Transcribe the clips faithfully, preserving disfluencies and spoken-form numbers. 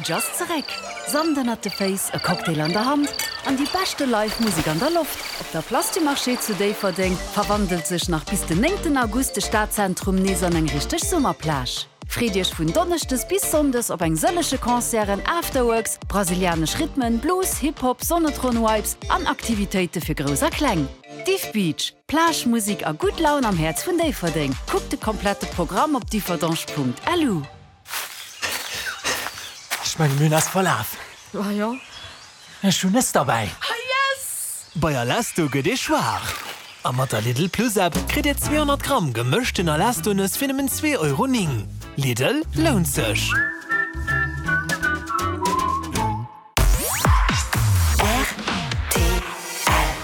Beach ass zeréck! Sand ënnert de Féiss, e Cocktail an der Hand an déi beschte Live Musek an der Loft. Op der Place du Marché zu Déifferdeng verwandelt sech nach bis den néngten August de Stadzentrum nees an eng richteg Summerplage. Freet Iech vun Donneschdes bis Sonndes op eng sëllege Concerten, Afterworks, brasilianesch Rhythmen, Blues, Hip-Hop, Sonnetron-Vibes an Aktivitéite fir Grouss a Kleng. Diff Beach, Plage, Musek a gutt Laun am Häerz vun Déifferdeng. Kuckt de komplette Programm op differdange.lu. Ech mengen mir hunn eis verlaf. Ah jo? Ech hunn Nëss derbäi. Ah yes! Bei Alesto gëtt ee schwaach. A mat der Lidl Plus App kritt Dir zweehonnert Gramm gemëschten Alesto-Nëss fir nëmmen zwee Euro néng. Lidl, lount sech!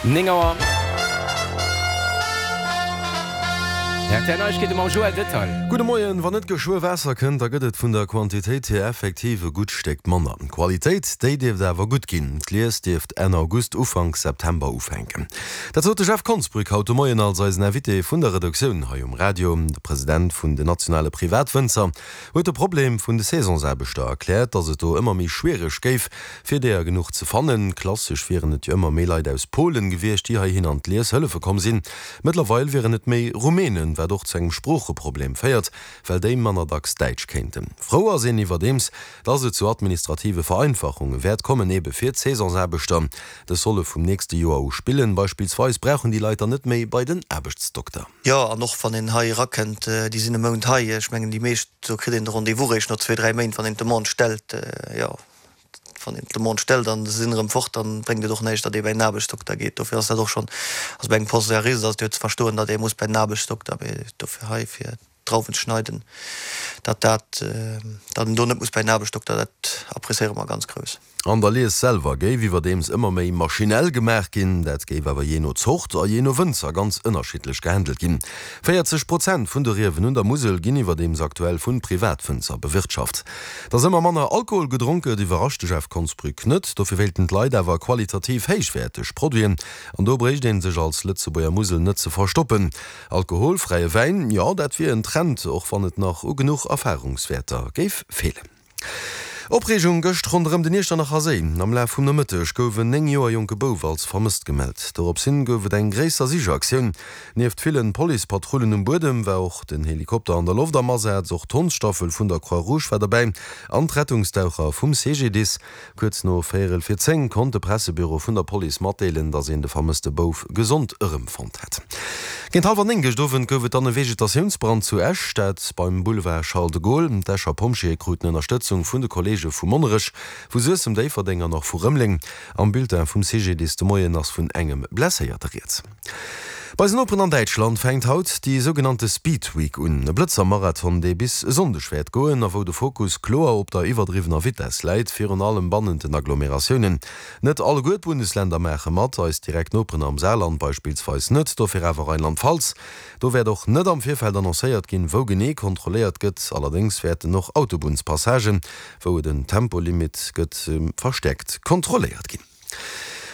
Néng Auer. R T L Neiegkeete mam Joël Detail. Gudde Moien. Wann net geschwë Waasser kënnt, da gëtt et vun der Quantitéit hier effektiv e gutt Stéck manner. D'Qualitéit, déi dierft awer gutt ginn. D'Lies dierft Enn August, Ufank September ufänken. Dat sot de Jeff Konsbrück haut de Moien als eisen Invité vun der Redaktioun hei um Radio. De President vun den nationale Privatwënzer huet de Problem vun de Saisonsaarbechter erkläert, datt et do ëmmer méi schwiereg géif, fir deeër genuch ze fannen. Klassesch wieren et jo ëmmer méi Leit aus Polen gewiescht, déi heihin an d'Lies hëllefe komm sinn. Mëttlerweil wieren et méi Rumänen, wat och zu engem Sproocheproblem féiert, well déi manner dacks Däitsch kéinten. Frou ass een iwwerdeems, dass et zu administrative Vereinfachunge wäert kommen, ebe fir d'Saisonsaarbechter. Dës solle vum nächste Joer u spillen. Beispillsweis brauchen déi Leit dann net méi bei den Aarbechtsdokter. Jo, an och wann een hei erakënnt, déi sinn e Mount hei. Ech mengen, déi meescht, do kritt een de Rendez-vous réischt no zwee, dräi Méint, wann een d'Demande stellt. Jo, wann een d'Demande stellt an se sinn erëm fort, dann bréngt et och näischt, datt ee bei en Aarbechtsdokter geet. Dofir ass dat och schonn, also bei engem Post-Dialyse ass et jo ze verstoen, datt ee muss bei den Aarbechtsdokter, mee dofir hei fir d'Drauwen ze schneiden, datt dat, datt een do net muss bei en Aarbechtsdokter, dat appréciéiere mer ganz grouss. An der Lies selwer géif iwwerdeems ëmmer méi maschinell gemaach ginn. Dat géif awer jee no Zort a jee no Wënzer ganz ënnerschiddlech gehandelt ginn. véierzeg Prozent vun de Riewen un der Musel ginn iwwerdeems aktuell vu Privatwënzer bewirtschaft. Datt ëmmer manner Alkohol gedronk gëtt, iwwerrascht de Jeff Konsbrück net. Dofir wéilten d'Leit awer qualitativ héichwäerteg Produiten. An do bréicht ee sech als Lëtzebuerger Musel net ze verstoppen. Alkoholfräie Wäin, jo dat wier en Trend, och wann et nach u genuch Erfarungswäerter géif feelen. Opreegung gëscht ronderëm den Iechternacher Séi. Am Laf vum Nomëtteg gouf en néng Joer jonke Bouf als vermësst gemellt. Dorops hin gouf et eng gréisser Sichaktioun. Nieft villen Policepatrullen um Buedem war och den Helikopter an der Loft am Asaz. Och d'Hondsstaffel vun der Croix-Rouge war derbäi an d'Rettungsdaucher vum C G D I S. Kuerz no véierel vir zéng konnt de Pressebüro vun der Police matdeelen, datt een de vermësste Bouf gesond erëmfonnt hätt. Géint hallwer néng gëscht Owend gouf et dann e Vegetatiounsbrand zu Esch, dat beim Boulevard Charles de Gaulle. D'Escher Pompjeeë kruten Ënnerstëtzung vun de Kolleege vu Monnerech, vu Suessem, Déifferdeng an och vu Rëmeleng. Am Bulletin vum C G D I S de Moien ass vun engem Blesséierte rieds. Bei eisen Noperen an Däitschland fänkt haut déi sougenannte Speed Week un, e Blëtzer-Marathon, dee bis e Sonndeg wäert goen a wou de Fokus kloer op der iwwerdriwwener Vitess läit, virun allem bannent den Agglomeratiounen. Net alleguer d'Bundesländer maache mat, eis direkt Noperen am Saarland beispillsweis net, dofir awer Rheinland-Pfalz. Do wäert och net am Virfeld annoncéiert ginn, wou genee kontrolléiert gëtt. Allerdéngs wäerten och Autobunnspassagen, wou et en Tempolimit gëtt, verstäerkt kontrolléiert ginn.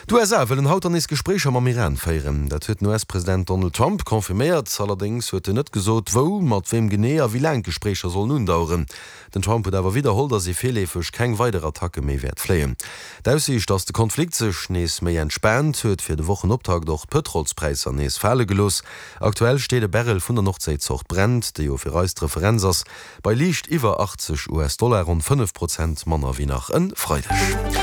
D'U S A wëllen haut dann nees Gespréicher mam Iran féieren. Dat huet den U S-President Donald Trump confirméiert. Allerdéngs huet en net gesot, wou, mat weem genee a wéi laang d'Gespréicher sollen undaueren. Den Trump huet awer widderholl, datt ee virleefeg keng weider Attacke méi wäert fléien. D'Aussiicht, datt de Konflikt sech nees méi entspaant, huet fir de Wochenoptakt och d'Pëtrolspräisser nees fale gelooss. Aktuell steet e Barrel vun der Nordséizort Brent, déi jo fir eis d'Referenz ass, bei liicht iwwer achtzeg U S-Dollar, ronn fënnef Prozent manner wéi nach e Freideg.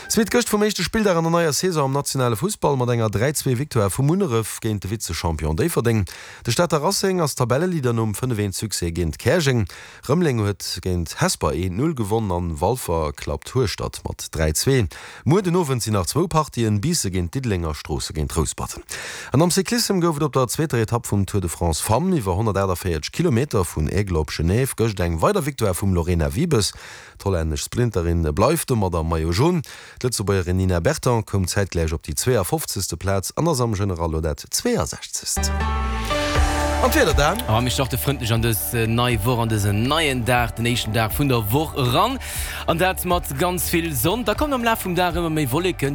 Zweet gëscht vum éischte Spilldag an der neier Saison am nationale Fussball mat enger dräi zwee Victoire vu Munneref géint de Vize-Champion Déifferdeng. De Stater Racing ass Tabelleleader nom fënnef eent Succès géint Käerjeng. Rëmeleng huet géint Hesper eent null gewonn an Walfer klappt Hueschtert mat dräi zwee. Muer den Owend sinn nach zwou Partien, Biisse géint Diddeleng a Stroosse géint Rouspert. An am Cyclissem gouf et op der zweeter Etapp vum Tour de France Femmes iwwer honnertaachtavéierzeg Kilometer vun Aigle op Genève gëscht eng weider Victoire vum Lorena Wiebes. D'hollännesch Sprinterin bleift domat am Maillot Jaune. D'Lëtzebuergerin Nina Berton koum zäitgläich op déi zweeafofzegste Plaz an ass am General lo dat zweeasechzegst. An d'Wieder dann? A mir starte frëndlech an dës nei Woch, an dësen neien Dag, den éischten Dag vun der Woch eran. An dat mat ganz vill Sonn. Da kommen am Laf vum Dag ëmmer méi Wolleken, déi